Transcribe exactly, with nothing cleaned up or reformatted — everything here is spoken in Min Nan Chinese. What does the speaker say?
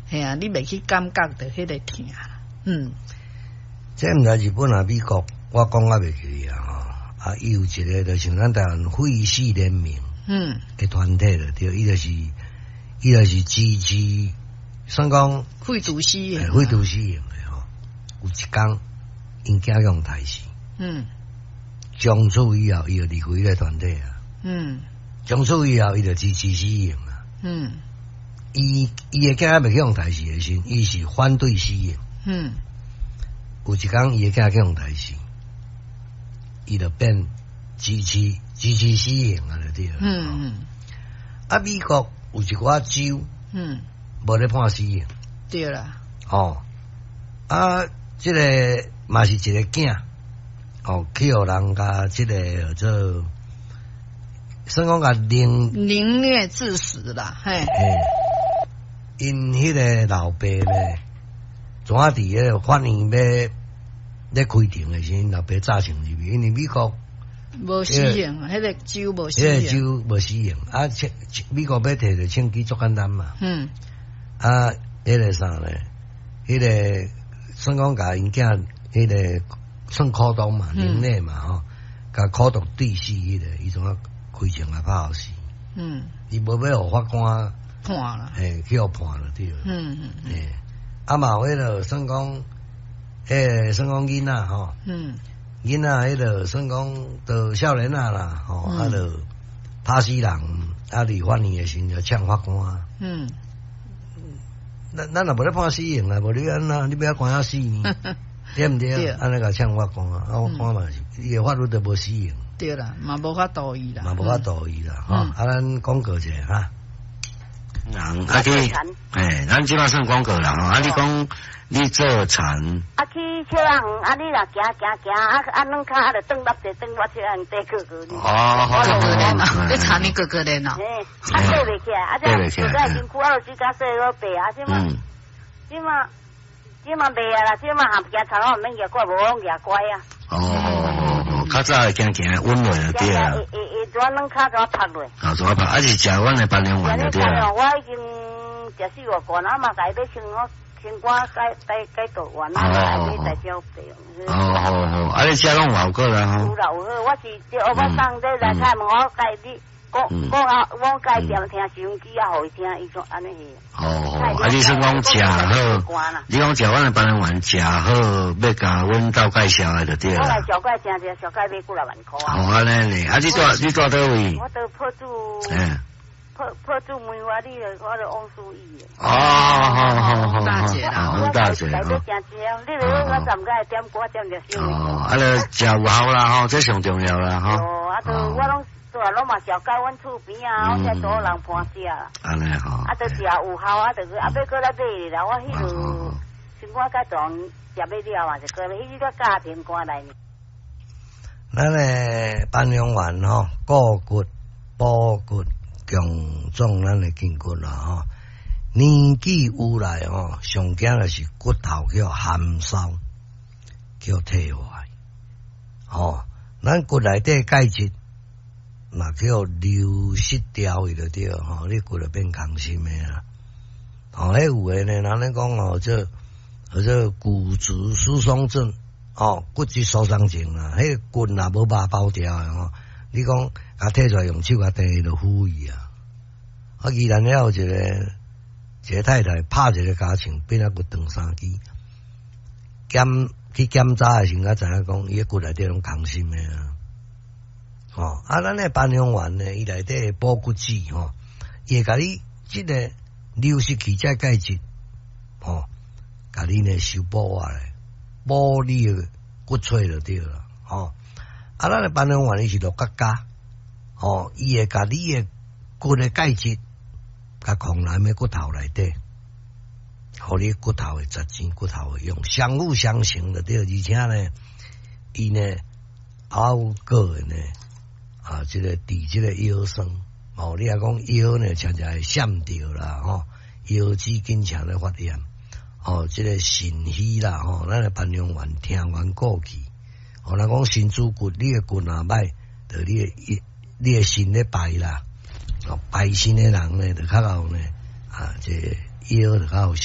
嘿啊，你袂去感覺著彼个疼，嗯。這毋知日本抑美國，我講啊袂記啊吼。啊，伊有一個就像咱台灣廢死聯盟，嗯，的團體就對，伊就是伊就是支持，算講廢除死刑，廢除死刑的吼。有一工，𪜶囝予刣死，嗯，從此以後，伊就離開彼个團體啊，嗯，從此以後，伊就支持死刑啊，嗯，伊伊的囝猶未去予刣死的時，伊是反對死刑，嗯。有一工，伊的囝去予刣死，伊就變支持支持死刑啊！就對。嗯嗯。啊，美國有一寡州，嗯，無咧判死刑。對啦。哦，啊，這个嘛是一个囝，哦，去予人共這个叫做，算講共凌凌虐致死啦，嘿。嘿，𪜶彼个老爸呢，怎啊佇彼个法院欲咧開庭的時陣，老爸早先入去，因為美國無死刑，彼個州無死刑，彼個州無死刑，啊，美國欲提著槍支足簡單嘛。嗯。啊，彼個啥咧？彼个算講共𪜶囝，彼个算苦毒嘛，凌虐嘛吼，共苦毒致死彼個，伊怎啊開槍來拍予死？嗯。伊無欲予法官判啦，嘿，去予判就對。嗯嗯。嘿，啊嘛有彼个算講。欸，算講囡仔吼，囡仔彼个算講著少年仔啦，吼，啊著拍死人，啊佇法院的時陣就嗆法官。嗯，咱咱若無咧判死刑啊，無你按怎，你欲關啊死呢？對毋對？按呢共嗆法官啊，啊法官嘛是，伊的法律都無死刑。對啦，嘛無法度伊啦，嘛無法度伊啦，吼，啊，咱廣告者哈。人啊去，欸，咱這擺算廣告啦，吼，啊你講你做田。啊去笑仔園，啊你若行行行，啊啊兩跤啊就轉落一轉我笑仔園短個個。哦，哥哥練哦，你田你哥哥練哦。嘿，啊爬袂起來，啊這現在身軀啊，就水較細好爬啊，這馬這馬這馬袂啊啦，這馬含行田我毋免舉拐，無講舉拐啊。哦哦哦，較早會行行穩落就對啊。會會會怎兩跤怎拍落？啊，怎拍？啊是食阮的班良丸就對啊。我已經食四五罐，啊嘛共伊買清我清肝解解解毒丸，啊嘛買大蕉白。哦好好，啊你食攏有效果啦吼。有啦有好，我是我送這來開門，我共你講講啊，我共伊踮聽收音機啊，予伊聽，伊講按呢是。哦，啊你算講食好，你講食阮的班良丸食好，欲共阮鬥介紹的就對啦。我來小蓋誠濟，小蓋買幾若萬箍啊。哦，按呢呢，啊你住你住佗位？我佇朴子。嗯。朴朴子梅花，你著我著王思懿。哦，好好好，大姐啦，王大姐。來都誠濟啊！你著我十個點歌點著收。哦，啊，你食有效啦吼，這上重要啦吼。哦，啊，都我攏做攏嘛小蓋阮厝邊啊，我才多人伴食。按呢吼。啊，都食有效啊，就啊，欲閣來買啦。我彼落生活階段食欲了嘛，就閣彼個家庭肝來。咱的班良丸吼，固骨、補骨、強壯咱的筋骨啦吼。年紀有來吼，上驚的是骨頭叫含梢，叫退化。吼，咱骨內底鈣質嘛叫流失掉去就對吼，你骨就變空心的啦。吼，彼有的呢，人咧講哦，這叫做骨質疏鬆症，哦，骨質疏鬆症啦，彼個骨若無肉包牢的吼，你講共提出來用手共硩就腐去啊。啊，宜蘭遐有一個一個太太拍一個尻槍，變啊骨斷三支，檢去檢查的時陣才知影講，伊的骨內底攏空心的啊。吼，啊，咱的班良丸呢，伊內底補骨脂吼，伊會共你這个流失去這鈣質，吼，共你呢修補下來，補你的骨髓就對啦，吼。啊，咱的班良丸伊是六角鉀，吼，伊會共你的骨的鈣質，共藏咱的骨頭內底，予你骨頭會值錢，骨頭會用，相輔相成就對，而且呢，伊呢還有個呢，啊，這个治這个腰酸，哦，你若講腰呢，常常會閃著啦，吼，腰子經常咧發炎，哦，這个腎虛啦，吼，咱的班良丸聽完過去，哦，若講身主骨，你的骨若歹，就你的你的腎咧排啦，哦，排腎的人呢，就較會呢，啊，這個腰就較有。